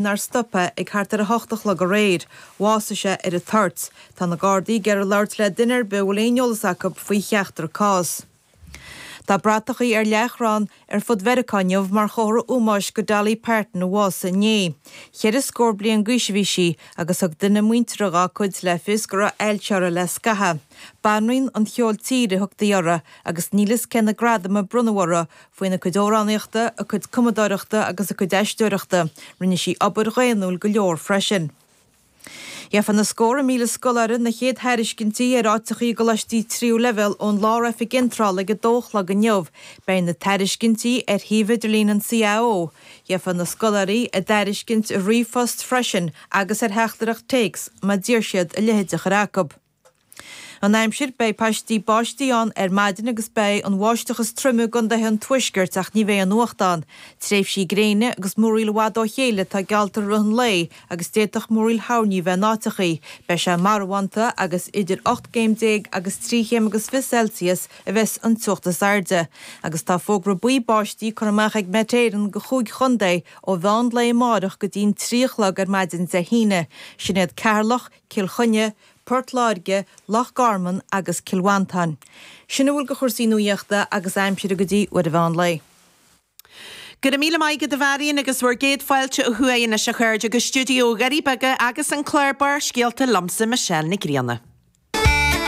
Nár stop é ag thart ar 8 a chlog aréir. Bhásaigh sé ar an toirt. Tá na Gardaí ag iarraidh labhairt le duine ar bith a bhfuil aon eolas acu faoi cheachtar cás. Tá bratachaí ar leathchrann ar fud Mheiriceá inniu mar chomhartha ómóis go Dolly Parton a bhásaigh inné. Cheithre scór bliain d'aois a bhí sí agus thug duine muinteartha dhá cuid le fios go raibh ailse uirthi le scaitheamh. Banríon an cheoil tíre a thugtaí uirthi agus níl fhios cé na gradaim a bronnadh uirthi Faoina cuid amhránaíochta, a cuid cumadóireachta agus a cuid aisteoireachta, rinne sí obair dhaonnúil go leor freisin. Gheofaidh na scórtha míle scoláire na chéad thairiscintí ar áiteachaí i gcoláistí tríú leibhéal ón Lár-Oifig Iontrála ag a dó a chlog inniu. Beidh na tairiscintí ar shuíomh idirlín an CAO. Gheofaidh na scoláirí a dtairiscint i ríomhphost freisin agus ar theachtaireacht téacs má d'iarr siad a leithéid a chur acu. An aimsir, Beidh paistí báistí ann ar maidin agus beidh an bháisteach is troime i gcontaetha an tuaiscirt ach ní bheidh aon fhuacht ann. Tréimhsí gréine agus múraíl i bhfad ó chéile atá geallta i rith an lae agus d'fhéadfadh múraíl thoirní bheith in áiteachaí. Beidh sé marbhánta agus idir 18 gcéim agus 3 chéim agus 20 Celsius a bheas an teocht is airde. Agus tá fógra buí báistí curtha amach ag Met Éireann go chúig chontae ó mheán lae amáireach go dtí'n 3 a chlog ar maidin Dé hAoine. Sin iad Ceatharlach, Cill Chainnigh, Port Láirge, Loch Garman agus Cill Mhantáin. Sin a bhfuil de chúrsaí nuaíochta agus aimsire go dtí uair an mheán lae. Go raibh míle maith agat a Mharion agus bhur gcéad fáilte ó thuaidh anois a chairde go stiúideo Dhoirí Beaga agus an clár Barrscéalta liomsa Michelle Nic Grianna.